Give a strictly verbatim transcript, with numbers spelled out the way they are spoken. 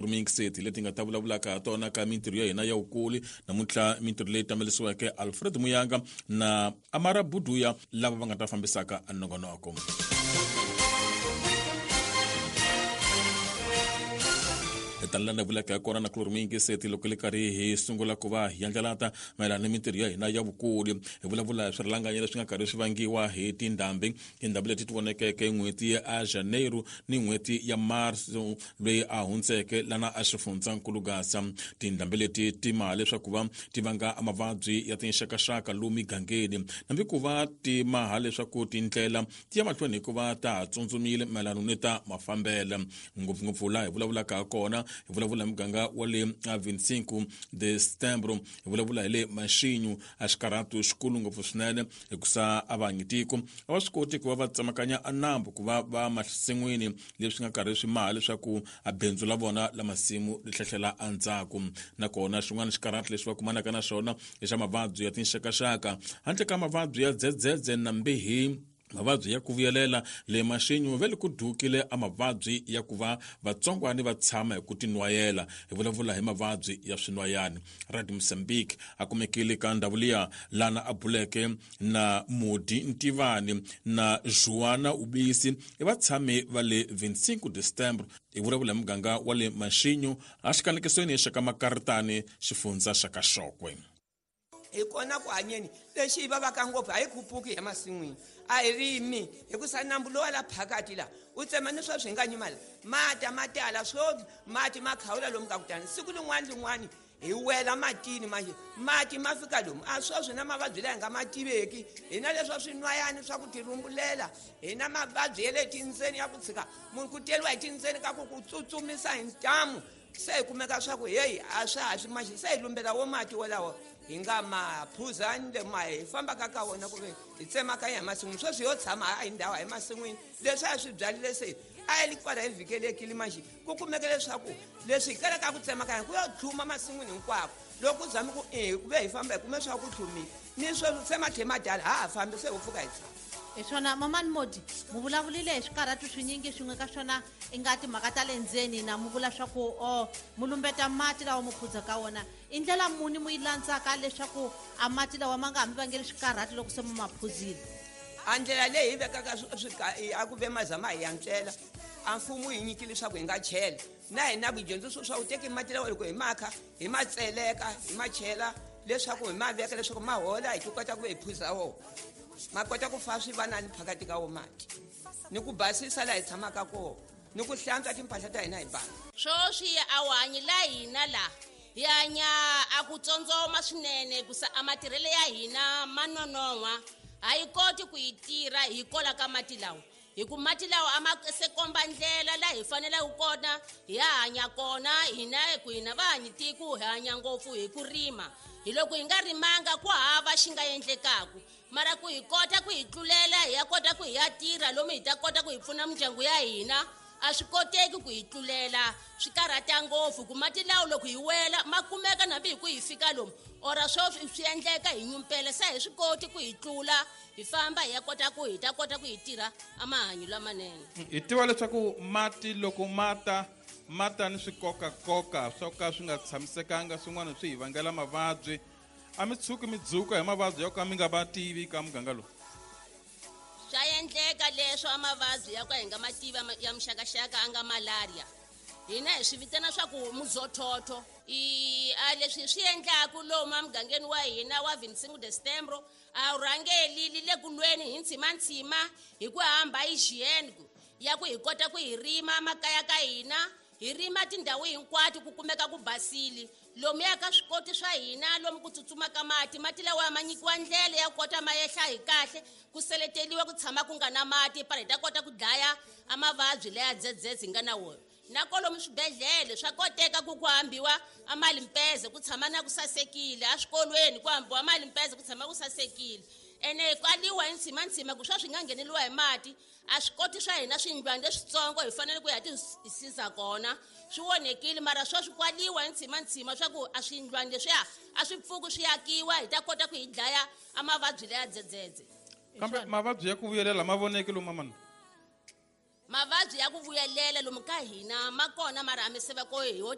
Mingiseti leti nga ta vulavulaka ha tona ka mintirho ya hina ya vukuli namuntlha, mintirho leyi tamelisiweke Alfred Muyanga na Amara Buduya lava va nga ta fambisaka nongonoko. Tala vulaka ya kona na kulori mingiseti loko le karhi hi sungula ku va hi yandlalata mayelana ni mintirho ya hina ya vukuli, hi vulavula hi swirhalanganyi leswi nga karhi swi vangiwa hi tindhambi, tindhambi leti ti vonekeke n'hweti ya Janeiro ni n'hweti ya Marso loyi a hundzeke lana a xifundzankulu Gaza. Tindhambi leti ti maha leswaku va ti vanga mavabyi ya tinxakaxaka lomu migangeni, hambi ku va ti maha leswaku tindlela ti ya mahlweni hikuva ta ha tsundzumile mayelana ni ta mafambelo, ngopfungopfu laha hi vulavulaka ha kona. Hi vulavula hi muganga wa le vinte e cinco de Setembro, hi vulavula hi le Maxinyu, a xikarhatu xikulu ngopfu swinene hikusa a va hanyi tiko a va swi koti ku va va tsemakanya a nambu ku va va masin'wini, leswi nga karhi swi maha leswaku a bindzu la vona la masimu ri hlehlela endzhaku. Nakona xin'wana xikarhatu lexi va kumanaka na xona i xa mavabyi ya tinxakaxaka, handle ka mavabyi ya dzedzedze na mbihi, mavabyi ya ku vuyelela le Maxinyu ve le ku dukile a mavabyi ya ku va vatsongwani va tshama hi ku tinwayela, hi vulavula hi mavabyi ya swinwayani. Radio Mozambique a kumekile ka ndhawu liya lana a buleke na Modi Ntivani na Joana Ubisi, i vatshami va le vinte e cinco de Setembro, hi vulavula hi muganga wa le Maxinyu a xikanekisweni xa ka Makaritani, xifundza xa ka Xokwe. Hi kona ku hanyeni lexi hi vavaka ngopfu, a hi khupuki hi masin'wini, a hi rimi hikusa nambu lowa la phakati la u tsema ni sweswi hi nga nyimala mata ma tala swo mati ma khawula lomu ka kutani siku lin'wana lin'wani hi wela matini manje mati ma fika lomu a sweswi na mavabyi laha hi nga ma tiveki hi na leswa swinwayani swa ku tirhumbulela, hi na mavabyi ya le tindzeni ya ku tshika munhu ku teriwa hi tindzeni ka ku ku tsutsumisa hi ntamu, se hi kumeka swa ku heyi a swa ha swi maxi, se hi lumbela wo mati wolawo hi nga ma phuzani le ma hi fambaka ka wona ku ve hi tsemakanya hi masin'wini. Sweswi yo tshama a hi ndhawu hi masin'wini leswi a swi byalile se a yi li kwala hi vhikelekile manjhe ku kumeka leswaku leswi hi kalaka ku tsemakanya ku yo tlhuma masin'wini hinkwako, loko ku zame ku e ku ve hi famba hi kume swa ku tlhumile ni sweswi se matlhe madala ha ha fambi se ho pfuka hi tshama. Hi swona mamani Modi, mu vulavulile hi swikarhatu swinyingi, swin'we ka swona i nga timhaka ta le ndzeni na mu vula swa ku o mu lumbeta mati lawa mu phuza ka wona, i ndlela muni mu yi landzaka leswaku a mati lawa ma nga ha mi vangeli swikarhatu loko se mu ma phuzile? A ndlela leyi hi vekaka a ku ve mazama hi yantswela a mfumo yi nyikile leswaku hi nga chela na hina vudyondziso swa ku teki mati lawa loko hi makha hi ma tseleka hi ma chela leswaku hi ma veka leswaku ma hola hi ti kota ku ve hi phuza wona, ma kota ku fa swi va nani phakati ka wo mati ni ku basisa laha hi tshamaka kona ni ku hlantswa timpahla ta hina hi basa. Swoswi a wu hanyi la hina laha hi hanya a ku tsondzoma swinene kusa a matirhelo ya hina ma nonon'hwa, a yi koti ku yi tirha hi kola ka mati lawa, hi ku mati lawa a ma se komba ndlela laha hi faneleke kona hi ya hanya kona hina, ku hina va hanyi tiko hi hanya ngopfu hi ku rima, hi loko hi nga rimanga ku hava xi nga endlekaku, mara ku hi kota ku hi tlulela hi ya kota ku hi ya tirha lomu hi ta kota ku hi pfuna mindyangu ya hina, a swi koteki ku hi tlulela, swi karhata ngopfu ku mati lawa loko hi wela ma kumeka nambi hi ku hi fika lomu ora swo swi endleka hi nyumpela se hi swi koti ku hi tlula hi famba hi ya kota ku hi ta kota ku hi tirha a mahanyo lamanene. Hi tiva leswaku mati loko mata mata ni swikokakoka swo ka swi nga tshamisekanga, swin'wana swi hi vangela mavabyi, a mi tshuki mi dzuka hi mavabyi yo ka mi nga va tivi ka muganga lowu? Swa endleka leswo a mavabyi ya ka hi nga ma tivi ya muxakaxaka a nga malaria, hina hi swi vitana swa ku muzothotho i a leswi swi endlaku lomu emugangeni wa hina wa vinte e cinco de Setembro a wu rhangeli li le ku lweni hi ntshimantsima hi ku hamba hygiene ya ku hi kota ku hi rima makaya ka hina, hi rima tindhawu hinkwato ku kumeka ku basile lomuya ka swikoti swa hina lomu ku tsutsumaka mati, mati lawa ma nyikiwa ndlela ya kota ma yehla hi kahle ku seleteliwa ku tshama ku nga na mati para hi ta kota ku dlaya a mavabyi leya dzedzedze hi nga na wona, na kolomu swibedhlele swa koteka ku ku hambiwa a malimpeze ku tshama na ku sasekile, eswikolweni ku hambiwa malimpeze ku tshama ku sasekile, ene kwaliwa hi ntshimantsima ku swa swi nga ngheneliwa hi mati a swi koti swa hina swindlwana leswitsongo hi fanele ku ya ti siza kona swi onhekile, mara sweswi kwaliwa hi ntshimantsima swa ku a swindlwana leswiya a swi pfuki swi akiwa hi ta kota ku hi dlaya a mavabyi leya dzedzedze. Kambe mavabyi ya ku vuyelela ma voneki lomu mamani? Mavabyi ya ku vuyelela lomu ka hina ma kona, mara a mi se va ko hi ho